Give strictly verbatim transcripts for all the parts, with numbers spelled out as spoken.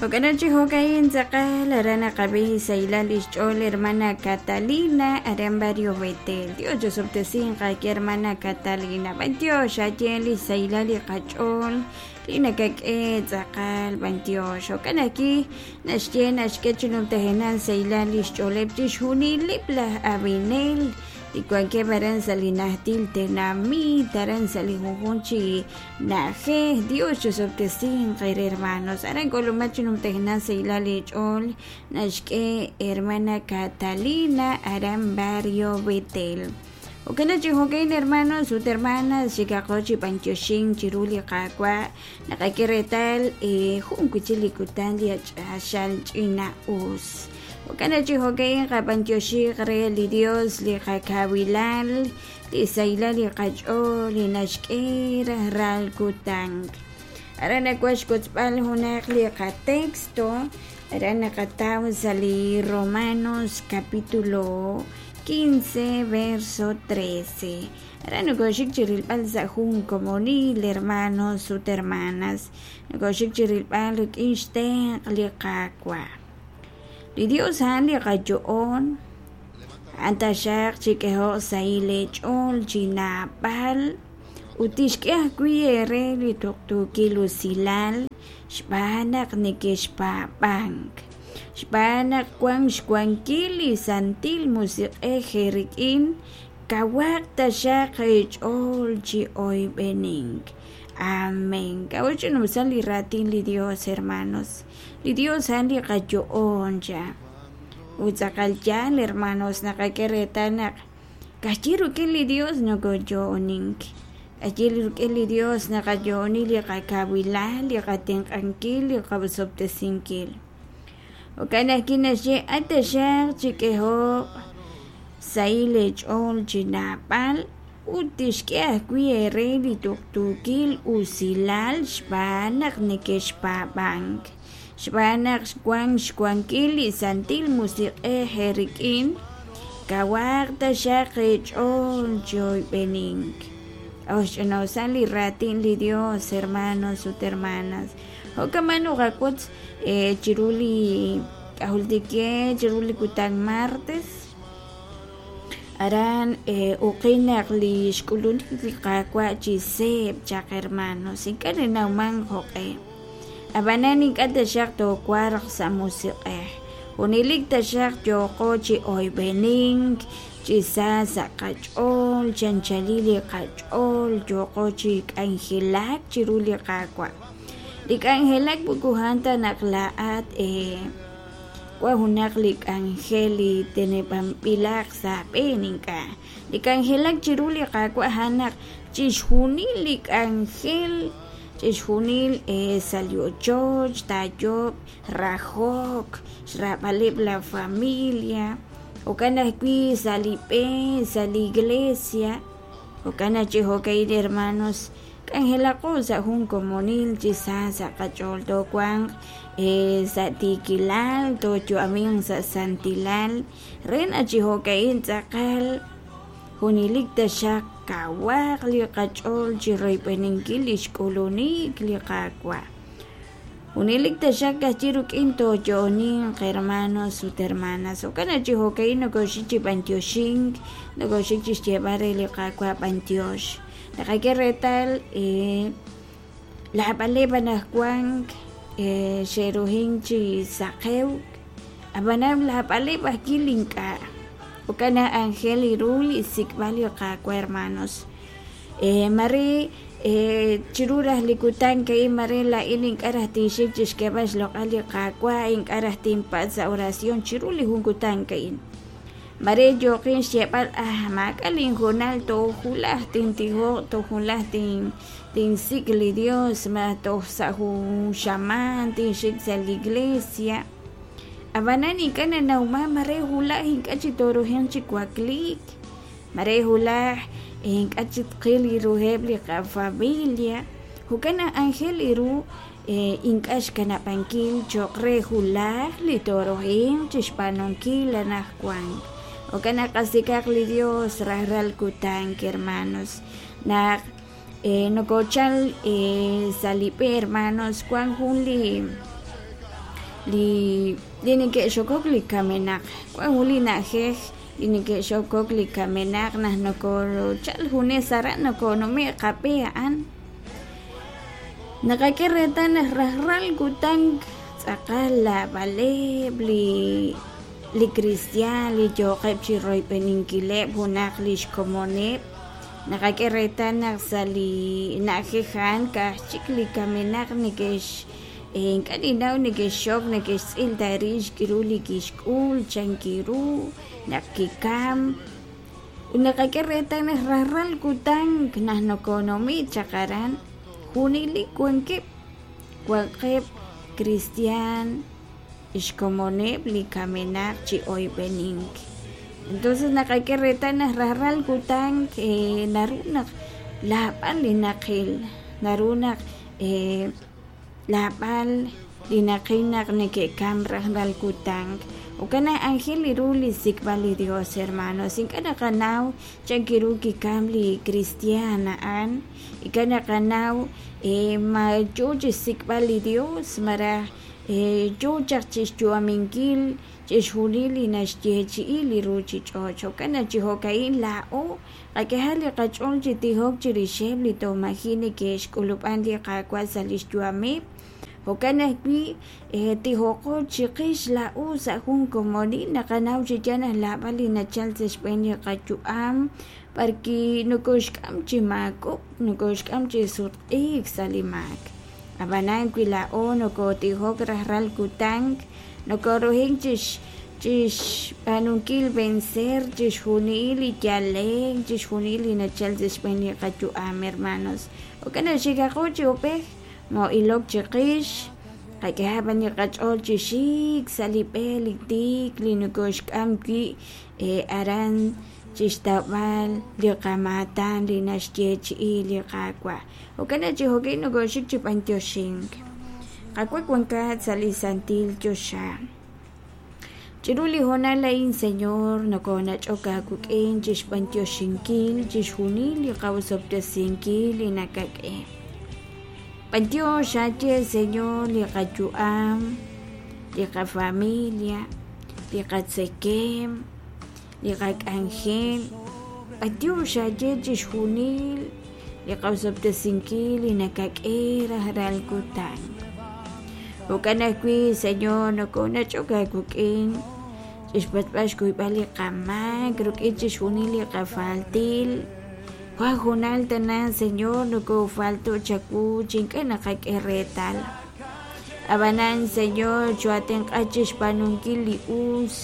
Jo'kan chi jo'kain tz'aqal aran naqab'i saylal lix ch'ool hermana Catalina aran barrio Betel. Dios chosob'tesinqa ki hermana Catalina. B'antiox aye li saylal li qach'ool li nakak'e tz'aqal b'antiox. Jo'kan ajwi' naxye naxk'e chi numtajenal saylal lix ch'ooleb' chixjunileb' laj ab'inel li wankeb' aran sa' li najtil tenamit aran sa' li junjun chi na'ajej. Dios chosob'tesinqa re hermanos. Aran k'ulumat chi numtajenal saylal li ch'ool naxk'e hermana Catalina aran barrio Betel. Jo'kan chi jo'kain hermanos ut hermanas xikaqo chi b'antioxin chiru li qaawa' naqak'e reetal jun wi' chik li kutan li ach'axal ch'ina-us. Jo'kan chi jo'kain qab'antioxiq re li Dios li qakawilal li saylal li qach'ool li naxk'e rajlal kutan. Aran nawan xkotzb'al junaq li qatexto aran naqataw sa' li Romanos capítulo quince verso trece. Aran nokoxik chi rilb'al sa' jun komonil hermanos ut hermanas nokoxik chi rilb'al rik'in xtenq' li Qaawa'. Li Dios a'an li qayo'on a'an taxaq chik'ehoq sahil eech'ool chi naab'al ut tixk'e ajwi' eere li tuqtuukil usilal xb'aan naq nekexpaab'ank. Xb'aan naq wan xwankil li Santil Musiq'ej eerik'in kawaq taxaq eech'ool chi oyb'enink. Amén. K'a'ut ch'inusal li raatin li Dios, hermanos. Li Dios a'an li qayo'on cha. Ut tz'aqal yaal, hermanos, naqak'e reetal naq ka'ajwi' rik'in li Dios nokoyo'onink. Ka'ajwi' rik'in li Dios naqayo'oni li qakawilal, li qatenq'ankil, li qasob'tesinkil. Jo'kan ajwi' naxye at taxaq chik'ehoq sahil eech'ool chi naab'al ut tixk'e ajwi' eere li tuqtuukil usilal xb'aan naq nekexpaab'ank. Xb'aan naq wan xwankil li Santil Musiq'ej eerik'in kawaq taxaq eech'ool chi oyb'enink. Ox ch'inusal li raatin li Dios, hermanos ut hermanas. Jo'kan noqak'ut chiru li k'ajultike chiru li kutan martes aran uqin naq li xk'ulunik li Qaawa' chi seeb' chaq hermanos ink'a' nanawman jo'q'e. Ab'anan ink'a' taxaq toowarq sa' musiq'ej. Junelik taxaq yooqo chi oyb'enink chi sa sa' qach'ool chanchalil li qach'ool yooqo chi k'anjelak chiru li Qaawa'. Li k'anjelak moko a'an ta naq laa'at wan junaq li k'anjel li teneb'anb'ilaq sa' aab'een ink'a'. Li k'anjelak chiru li Qaawa' a'an naq chixjunil li k'anjel chixjunil sa' li ochoch taayob' rajok xraab'aleb' la familia jo'kan ajwi' sa' li b'e sa' li iglesia. Jo'kan chi jo'kain hermanos k'anjelaqo sa' jun komonil chi sa sa' qach'ool toowanq sa' tiikilal tooyu'amin sa' santilal re naq chi jo'kain tz'aqal junelik taxaq kawaq li qach'ool chi royb'eninkil li xk'ulunik li Qaawa'. Junelik taxaq ka'ajwi' rik'in tooyo'oninq hermanos ut hermanas. Jo'kan chi jo'kain nokoxik chi b'antioxink nokoxik chi xyeeb'al re li Qaawa' b'antiox. Naqak'e reetal laab'aleb' anaqwan xe'rujin chi saqew ab'anan laab'aleb' ajwi' ink'a'. Jo'kan naq anjel ru li xsik'b'al li Qaawa' hermanos. Mare chiru raj li kutan ka'in mare laa'in ink'a' raj tinxik chi xk'eeb'al xloq'al li Qaawa' ink'a' raj tinpatz' sa' oración chiru li jun kutan ka'in. Mare yooqin xyeeb'al ah maak'a' linhoonal toojulaj tintijoq toojulaj tin tinsik' li Dios ma toj sa' jun xamaan tinxik sa' li iglesia. Ab'anan ink'a' nanawman mare hulaj ink'a' chi torujenq chi wakliik mare hulaj ink'a' chi tqil ruheb' li qafamilia. Jo'kan naq anjel ru ink'a' xkanab'ankil cho'q re hulaj li torujenq chi xb'aanunkil anaqwan. Jo'kan naq qasik'aq li Dios rajlal kutan hermanos. Naq nokochal sa' li b'e hermanos wan jun li li li neke'xokok li kamenaq wan jun li na'ajej li neke'xokok li kamenaq naq nokochal junes aran nokonume' qab'e a'an naqak'e reetal naq rajlal kutan tz'aqal lab'aleb' li li kristiaan li yooqeb' chi royb'eninkileb' junaq li xkomoneb' naqak'e reetal naq sa' li na'ajej a'an ka'aj chik li kamenaq neke'x ink'a' ninnaw neke'xxok neke'xtz'il ta rix k'aru li kixk'ul chankiru naq kikam ut naqak'e reetal naq rajlal kutan naq nokonume' chaq aran junelik wankeb' wankeb' kristiaan xkomoneb' li kamenaq chi oyb'enink entonces naqak'e reetal naq rajlal kutan naru naq lab'al li naqil naru naq lab'al li naqil naq neke'kam rajlal kutan jo'kan naq aajel ru li xsik'b'al li Dios hermanos ink'a' naqanaw chankiru kikam li kristiaan a'an ink'a' naqanaw ma yoo chi xsik'b'al li Dios malaj yoo chaq chi xyu'aminkil chixjunil li naxyeechi'i li ruchich'och' jo'kan naq chi jo'ka'in laa'o qak'ehaq li qach'ool chi tijok chirixeb' li toj maji' neke'xk'ulub'an li Qaawa' sa' li xyu'ameb' jo'kan ajwi' tijoqo chiqix laa'o sa' jun komonil naqanaw chi yaal naq lab'al li nachal sa' xb'een li qayu'am b'arki nokoxk'am chi maakok' nokoxk'am chi sutq'iik sa' li maak ab'anan wi laa'o nokotijok rajlal kutan nokoruhink chix chixb'aanunkil vencer chixjunil li yalek chixjunil li nachal sa' xb'een li qayu'am hermanos jo'kan naq xikaqo chi ub'ej moo'ilok chiqix qak'ehaq b'an li qach'ool chi xik sa' li b'e li tiik li nokoxk'am wi' aran chixtawb'al li qamaatan li naxyeechi'i li Qaawa' jo'kan naq chi jo'kan nokoxik chi b'antioxink Qaawa' wankat sa' li santil choxa chiru li hoonal a'in Señor nokonach'ok aawik'in chixb'antioxinkil chixjunil li qawosob'tesinkil li nakak'e b'antiox aaye Señor li qayu'am li qafamilia li qatzekem li qak'anjel b'antiox aaye chixjunil li qawosob'tesinkil li nakak'e rajlal kutan jo'kan ajwi' Señor nokonach'ok aawik'in chixpatz'b'al xkuyb'al li qamaak rik'in chixjunil li qafaltil wan junal tana Señor nokofalto' chawu chi ink'a' naqak'e reetal ab'anan Señor choatenq'a chixb'aanunkil li us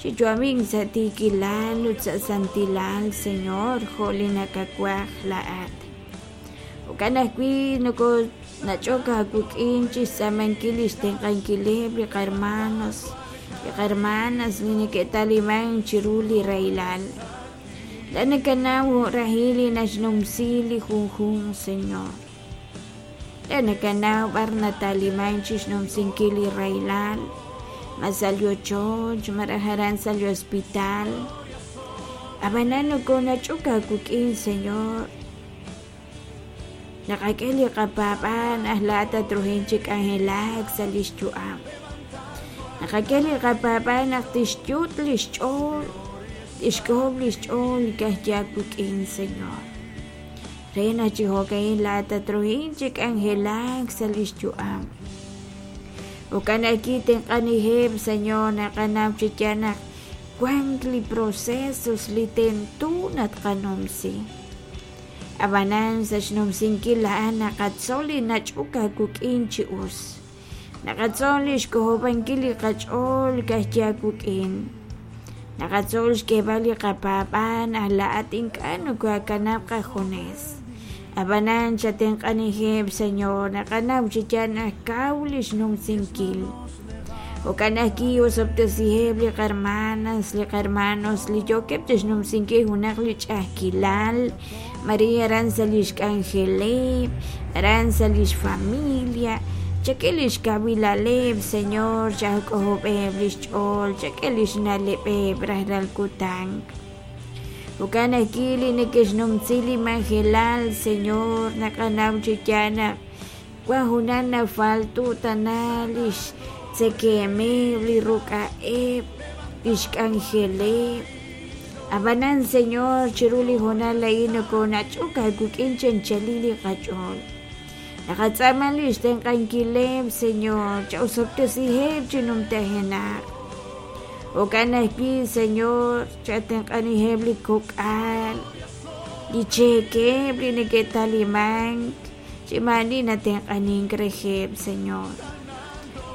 chiyu'amink sa' tiikilal ut sa' santilal Señor jo' li nakawaj laa'at jo'kan ajwi' noko nach'ok aawik'in chixtz'aamankil li xtenq'ankileb' li qarmanos li qarmanas li neke'taliman chiru li rahilal la nakanaw jo'rahil li naxnumsi li junjunq Señor la nakanaw b'ar nataliman chixnumsinkil li rahilal ma sa' li ochoch malaj aran sa' li hospital ab'anan nokonach'ok aawik'in Señor naqak'e li qapaab'aal naq laa'at tatruhin chi k'anjelak sa' li xyu'am naqak'e li qapaab'aal naq tixyut' li xch'ool tixk'ojob' li xch'ool ka'ajwi' aawik'in Señor re naq chi jo'ka'in laa'at tatruhin chi k'anjelak sa' li xyu'am jo'kan ajwi' tenq'aniheb' Señor naqanaw chi yaal naq wank li procesos li tento natqanumsi ab'anan sa' xnumsinkil a'an naqatzol li nach'ok aawik'in chi us naqatzol li xk'ojob'ankil li qach'ool ka'ajwi' aawik'in naqatzol xk'eeb'al li qapaab'aal naq laa'at ink'a' nokoakanab' qajunes ab'anan chatenq'aniheb' Señor naqanaw chi yaal naq kaw li xnumsinkil jo'kan ajwi' osob'tesiheb' li qarmanas li qarmanos li yookeb' chixnumsinkil junaq li ch'a'ajkilal Maria aran sa' li xk'anjeleb' aran sa' li xfamilia chak'e li xkawilaleb' Señor chak'ojob'eb' li xch'ool chak'e li xna'leb'eb' rajlal kutan jo'kan ajwi' li neke'xnumsi li majelal Señor naqanaw chi yaal naq wan junaq nafaltu' tana li xtzekemeb', li ruk'a'eb', li xk'anjeleb'. Ab'anan Señor, chiru li hoonal a'in nokonach'ok aawik'in chi anchalil li qach'ool. Naqatz'aama li xtenq'ankileb', Señor, cha'osob'tesiheb' chi numtajenaq. Jo'kan ajwi', Señor, chatenq'aniheb' li kok'al, li cheekeb' li neke'talimank, chi maani natenq'anink reheb', Señor.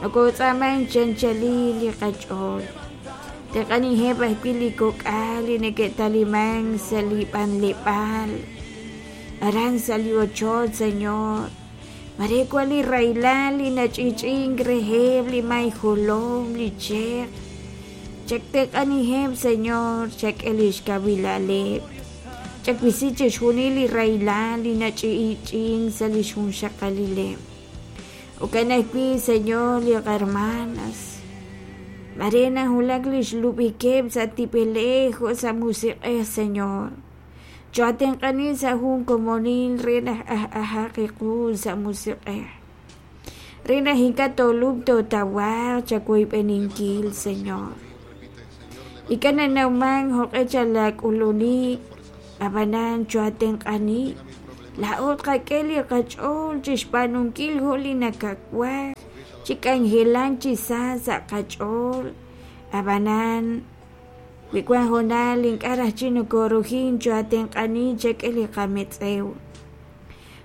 Nokotz'aamank chi anchalil li qach'ool. Tenq'aniheb' ajwi' li kok'al li neke'talimank sa' li b'anleb'aal, aran sa' li ochoch, Señor. Mare wan li rahilal li nach'i'ch'i'ink reheb' li may jolom, li cheq. Chaktenq'aniheb', Señor, chak'e li xkawilaleb'. Chakwisi chixjunil li rahilal li nach'i'ch'i'ink sa' li xjunxaqalileb'. Jo'kan ajwi', Señor, li qahermanas. Mare nawulak li xlub'ikeb' sa' tib'elej jo' sa' musiq'ej, Señor. Choatenq'ani sa' jun komonil re naq aj ajaq iqu sa' musiq'ej. Re naq ink'a' toolub' tootawaq chawoyb'eninkil, Señor. Ink'a' nanawman joq'e chalak'ulunik, ab'anan choatenq'ani. Laa'o tqak'e li qach'ool chixb'aanunkil jo' li nakawaj, chi k'anjelank chi sa sa' qach'ool. Ab'anan wi wan hoonal ink'a' raj chi nokorujin choatenq'ani chak'e li qametz'ew.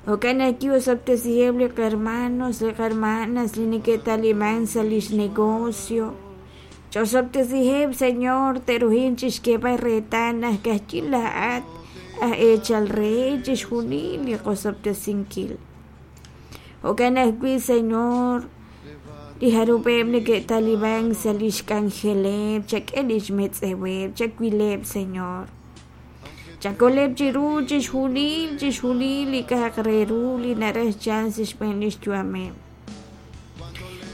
Jo'kan ajwi' osob'tesiheb' li qahermanos, li qahermanas li neke'taliman sa' lix negocio. Ch'osob'tesiheb', Señor, te'rujin chixk'eeb'al reetal naq ka'ajwi' laa'at aj eechal re chixjunil li qosob'tesinkil. Jo'kan ajwi', Señor, li jarub'eb' neke'taliman sa' lix k'anjeleb', chak'e lix metz'eweb', chawileb', Señor. Chakoleb' chiru chixjunil, chixjunil li k'a'aq re ru li naraj chalk sa' xb'een lix yu'ameb'.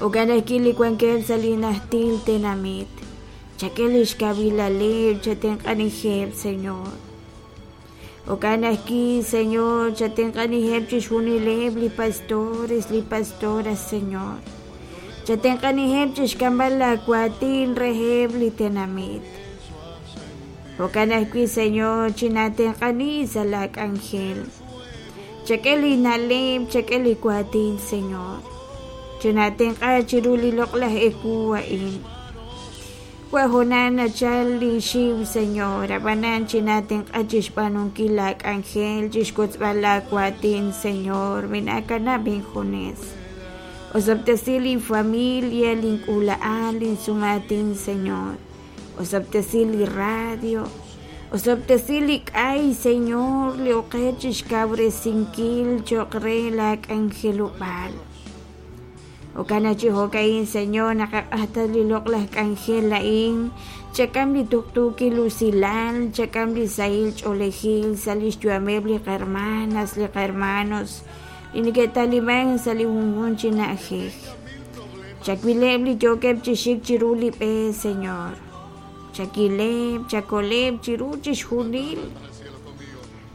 Jo'kan ajwi' li wankeb' sa' li najtil tenamit. Chak'e lix kawilaleb', chatenq'aniheb', Señor. Jo'kan ajwi', Señor, chatenq'aniheb' chixjunileb' li pastores, li pastoras, Señor. Chatenq'aniheb' chixk'amb'al laawaatin reheb' li tenamit. Jo'kan ajwi', Señor, chinatenq'ani sa' laak'anjel. Chak'e li na'leb', chak'e li waatin, Señor. Chinatenq'a chiru li loq'laj ewu a'in. Wa hoonal nachal li xiw, Señor, ab'anan chinatenq'a chixb'aanunkil laak'anjel, chixwotzb'al laawaatin, Señor, minaakanab' injunes. Osob'tesi li familia, link'uula'al, linsumatin, Señor. Osob'tesi li radio. Osob'tesi li k'ay, Señor, li oqech chixkawresinkil cho'q re laak'anjelob'aal. Jo'kan chi jo'ka'in, Señor, naqaq'ajta li loq'laj k'anjel a'in, chak'am li tuqtuukil usilal, chak'am li sahil ch'oolejil sa' lix yu'ameb' li qahermanas, li qahermanos, li neke'taliman sa' li junjunq chi na'ajej. Chawileb' li yookeb' chi xik chiru li b'e, Señor. Chakileb', chakoleb' chiru chixjunil.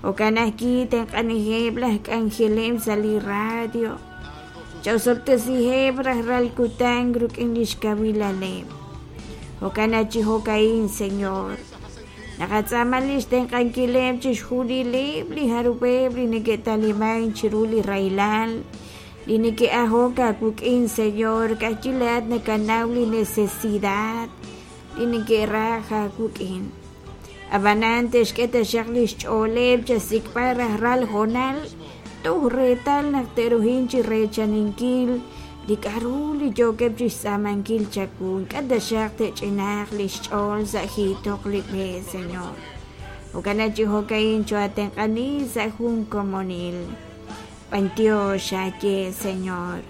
Jo'kan ajwi' tenq'aniheb' laj k'anjeleb' sa' li radio. Cha'osob'tesiheb' rajlal kutan rik'in lix kawilaleb'. Jo'kan chi jo'ka'in, Señor. Naqatz'aama lix tenq'ankileb' chixjunileb' li jarub'eb' li neke'taliman chiru li rahilal, li neke'ajok aawik'in, Señor, ka'ajwi' laa'at nakanaw li necesidad li neke'raj aawik'in. Ab'anan te'xk'e taxaq lix ch'ooleb' chasik'b'al rajlal hoonal toj reetal naq te'rujin chi reechaninkil li k'a'ru li yookeb' chixtz'aamankil chawu. Ink'a' taxaq te'ch'inaaq lix ch'ool sa' jiitoq li b'e, Señor. Jo'kan chi jo'ka'in choatenq'ani sa' jun komonil. B'antiox aaye, Señor.